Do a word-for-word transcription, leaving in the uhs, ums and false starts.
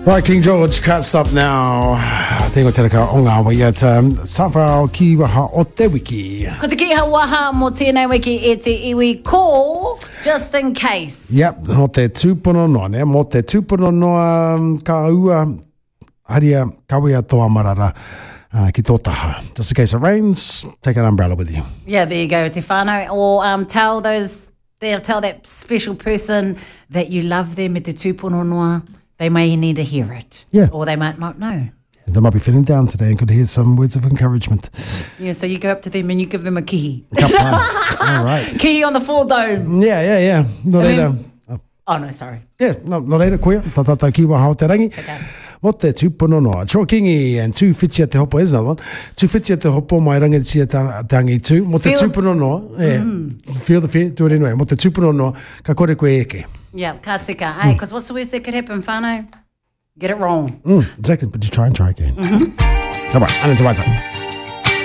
Right, King George, can't stop now. Tengo te reka o ngā waiata. Sawhao ki waha o te wiki. Ko te kiha waha mō tēnei wiki e te iwi ko Just in case. Yep, mō te tūpono noa, ne? Mō te tūpono noa um, ka ua, haria, kawea tō amarara uh, ki tō taha. Just in case it rains, take an umbrella with you. Yeah, there you go, te whānau. Or um, tell those, tell that special person that you love them me te tūpono noa. They may need to hear it. Yeah. Or they might not know. They might be feeling down today and could hear some words of encouragement. Yeah, so you go up to them and you give them a kihi. Ka pai. All right. Kihi on the four dome. Yeah, yeah, yeah. Nō reira. Then, oh, no, sorry. Yeah, no, nō reira, koia, tā tātou ki waha o te rangi. Okay. Mō te tūpono noa. Troy Kingi and Tūwhitia te hopo, is another one. Tūwhitia te hopo mai rangitia te, te angitu. Mō te Feel- tūpono noa. Yeah. Mm. Feel the fear, do it anyway. Mō te tūpono noa, ka kore koe eke. Yeah, ka tika. Hey, because what's the worst that could happen, whānau? Get it wrong. Mm, exactly, but you try and try again. Mm -hmm. Come on, ane te waita.